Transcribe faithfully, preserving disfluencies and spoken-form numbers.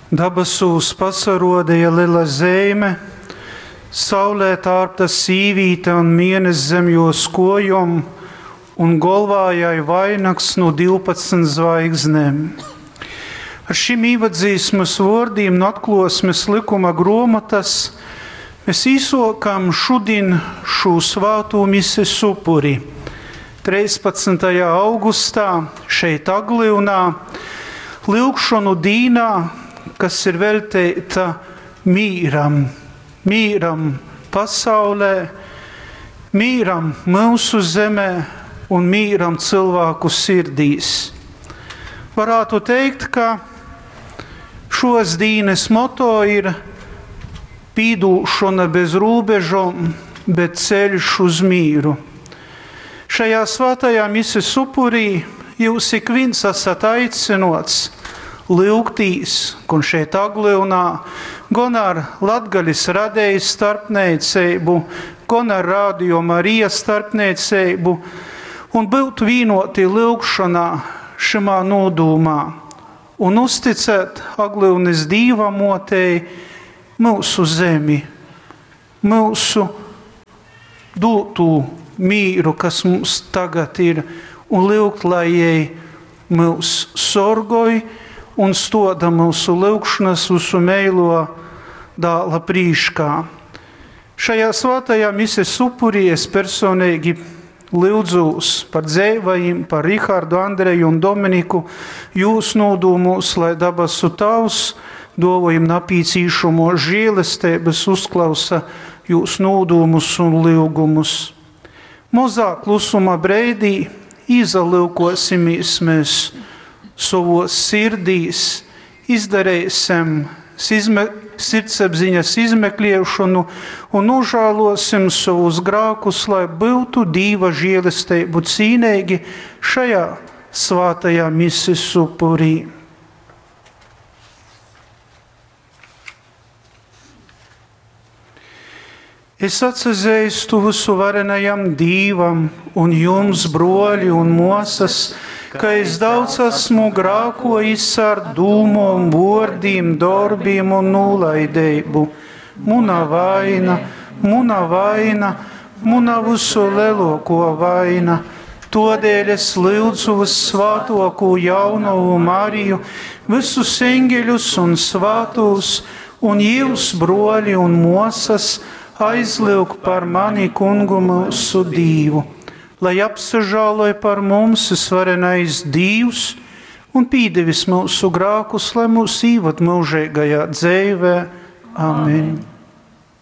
Dabasūs pasaruodeja lela zeime, saulē tārpta sīvīte un mieness zem juos kuojom, un golvā jai vainags nu divpadsmit zvaigznem. Ar šim īvadzīsmas vuordiem no Atkluosmes lykuma gruomotas mēs īsokam šodien šū svātū mises upuri. treispadsmitajā augustā šeit Aglyunā, lyugšonu dīnā, kas ir velteita mīram, mīram pasaulē, mīram mūsu zemē un mīram cilvēku sirdīs. Varētu teikt, ka šos dīnes moto ir pīdūšana bez robežom, bet ceļš uz mīru. Šajā svētajā mises upurī jūs ik viens esat aicinots lyugtīs, un šeit Aglyunā, gan ar Latgalis radējas starpniecību, gan ar Radio Marija starpniecību, un būt vienoti lyugšanā šimā nodūmā, un uzticēt Aglyunis Dīva motei mūsu zemi, mūsu dūtū mīru, kas mums tagad ir, un lyugt, lai jai mūs sorgoj un stoda mūsu lyugšanas visu meilo dāla prīškā. Šajā svētajā mises upurī es personīgi lyudzūs par dzeivajim, par Rihardu, Andreju un Dominiku, jūs nodūmūs, lai dabasu Tavs dovojim napīcīšamo žēlestības uzklausa jūs nodūmus un lyugumus. Mozā klusuma breidī izalyukosimies mēs savos sirdīs, izdarīsim izme, sirdsapziņas izmeklēšanu un nožēlosim savus grākus, lai būtu Dīva žēlastību cīnīgi šajā svētajā mises upurī. Es atsazīstu visu varenajam Dīvam un jums, broļi un mosas, ka es daudz esmu grākojis ar dūmom, vārdiem, darbiem un nolaidību. Muna vaina, muna vaina, muna visu lielāko vaina. Todēļ es lūdzu vissvētāko jaunavu Mariju, visus eņģeļus un svētos, un jūs, broļi un mosas, aizlūg par mani kungu mūsu Dīvu, lai apsažāloja par mums svarenais Dīvs un pīdevis mūsu grākus, lai mūs īvad mūžīgajā dzīvē. Amen. Amen.